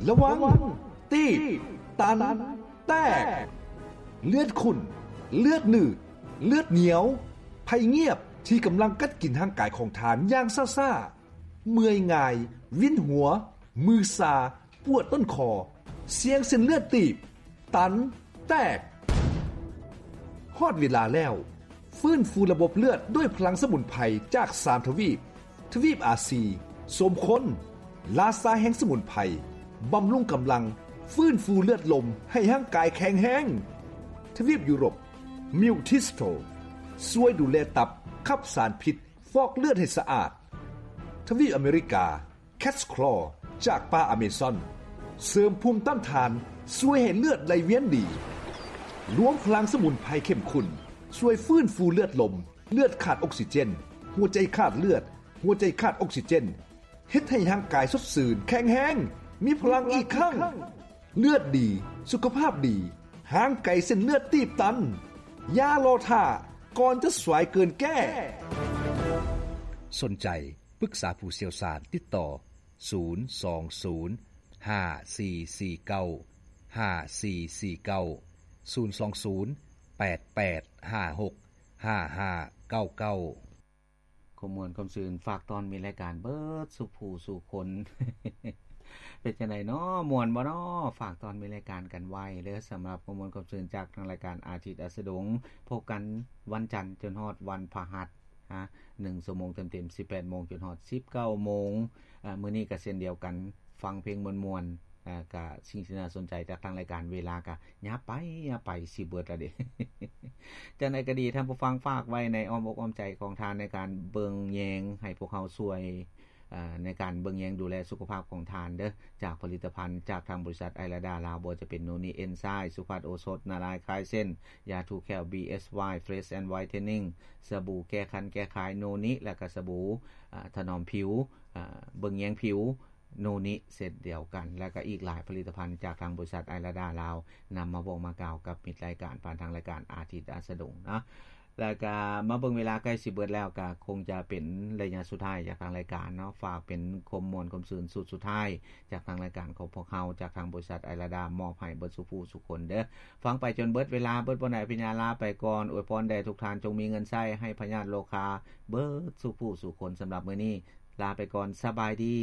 ລະວັງ! ຕີບ, ຕັນ, ແຕກ! ເລືອດຂຸ້ນ, ເລືອດໜືດ, ເລືອດໜຽວ, ໄພງຽບທີ່ກຳລັງກັດກິນຮ່າງກາຍຂອງທ່ານຢ່າງຊ້າໆ, ເມື່ອຍງ່າຍ, ວິນຫົວ, ມືຊາ, ປວດຕົ້ນຄໍ, ສ່ຽງເສັ້ນເລືອດຕີບ, ຕັນ, ແຕກ. ຮອດເວລາແລ້ວ! ຟື້ນຟູລະບົບເລືອດດ້ວຍພະລັງສະໝຸນໄພຈາກສາມທະວີບ, ທະວີບອາຊີ, ສົມຄົນ, ລາຊາແຫ່ງສະໝຸນໄພ, ບຳລຸງກຳລັງ, ຟື້ນຟູເລືອດລົມໃຫ້ຮ່າງກາຍແຂງແຮງ. ທະວີບຢູໂຣບ, ມິວທິສໂຕ, ຊ່ວຍດູແລຕັບ, ຂັບສານພິດ, ຟອກເລືອດໃຫ້ສະອາດ. ທະວີບອາເມລິກາ, ແຄດສະຄລໍຈາກປ່າອາເມຊອນ ເສີມພູມຕ້ານທານ, ຊ່ວຍໃຫ້ເລືອດໄຫຼວຽນດີ. ລວມພະລັງສະໝຸນໄພເຂັ້ມຂຸ້ນ ຊ່ວຍຟື້ນຟູເລືອດລົມ, ເລືອດຂາດອົກຊີເຈນ, ຫົວໃຈຂາດເລືອດ, ຫົວໃຈຂາດອົກຊີເຈນ, ເຮັດໃຫ້ຮ່າງກາຍສົດຊື່ນ, ແຂງແຮງ, ມີພະລັງອີກຄັ້ງ. ເລືອດດີ, ສຸຂະພາບດີ, ຫ່າງໄກເສັ້ນເລືອດຕີບຕັນ. ຢ່າລໍຖ້າ, ກ່ອນຈະສວຍເກີນແກ້! ສົນໃຈ ປຶກສາຜູ້ຊ່ຽວຊານ, ຕິດຕໍ່ ສູນສອງສູນ ຫ້າສີ່ສີ່ເກົ້າ ຫ້າສີ່ສີ່ເກົ້າ, ສູນສອງສູນ ແປດແປດຫ້າຫົກ ຫ້າຫ້າເກົ້າເກົ້າ. ຄວາມມ່ວນຄວາມຊື່ນ ຝາກຕ້ອນມີລາຍການເບິດສູ່ຜູ້ສູ່ຄົນ. ເປັນຈັ່ງໃດນໍ? ມ່ວນບໍ່ນໍ? ຝາກຕ້ອນມີລາຍການກັນໄວ້ເດີ. ສຳລັບຄວາມມ່ວນຄວາມຊື່ນຈາກທາງລາຍການອາທິດອາສະດົງ, ພົບກັນວັນຈັນຈົນຮອດວັນພະຫັດ. ຮະ ໜຶ່ງຊົ່ວໂມງເຕັມໆ ສິບແປດໂມງຈົນຮອດສິບເກົ້າໂມງ. ອາ ມື້ນີ້ກໍເຊັ່ນດຽວກັນ, ຟັງເພງມ່ວນໆ, ອາ ກະສິ່ງທີ່ໜ້າສົນໃຈຈາກທາງລາຍການ. ເວລາກະຫຍັບໄປຫຍັບໄປ ຊິເບິດລະເດ. ຈັ່ງໃດກໍດີ, ທ່ານຜູ້ຟັງ, ຝາກໄວ້ໃນອ້ອມອົກອ້ອມໃຈຂອງທ່ານ ໃນການເບິ່ງແຍງໃຫ້ພວກເຮົາຊ່ວຍ ອາ ໃນການເບິ່ງແຍງດູແລສຸຂະພາບຂອງທ່ານເດີ, ຈາກຜະລິດຕະພັນຈາກທາງບໍລິສັດໄອລາດາລາວ, ບໍ່ວ່າຈະເປັນໂນນິເອັນໄຊ, ສຸພັດໂອສົດ, ນາລາຍຄາຍເສັ້ນ, ຢາຖູແຂ້ວ ບີເອັສວາຍ ເຟຣຊແອນໄວເທນນິງ, ສະບູແກ້ຄັນແກ້ຄາຍໂນນິ ແລະກະສະບູ ອາ ຖະໜອມຜິວ, ອາ ເບິ່ງແຍງຜິວໂນນິ ເຊັ່ນດຽວກັນ, ແລະກະອີກຫຼາຍຜະລິດຕະພັນຈາກທາງບໍລິສັດໄອລາດາລາວ ນຳມາບອກມາກ່າວກັບມິດລາຍການ ຜ່ານທາງລາຍການອາທິດອາສະດົງເນາະ. ແລ້ວກະມາເບິ່ງເວລາໃກ້ຊິເບິດແລ້ວ, ກະຄົງຈະເປັນໄລຍະສຸດທ້າຍຈາກທາງລາຍການເນາະ. ຝາກເປັນຄວາມມ່ວນຄວາມຊື່ນຊຸດສຸດທ້າຍຈາກທາງລາຍການຂອງພວກເຮົາ, ຈາກທາງບໍລິສັດໄອລາດາ, ມອບໃຫ້ເບິດສູ່ຜູ້ສູ່ຄົນເດີ. ຟັງໄປຈົນເບິດເວລາ, ເບິດບໍ່ໄດ້ອະພິຍາລາໄປກ່ອນ. ອວຍພອນແດ່ທຸກທ່ານ, ຈົ່ງມີເງິນໃຊ້, ໃຫ້ພະຍາດໂລຄາເບິດສູ່ຜູ້ສູ່ຄົນ. ສຳລັບມື້ນີ້ ລາໄປກ່ອນ, ສະບາຍດີ.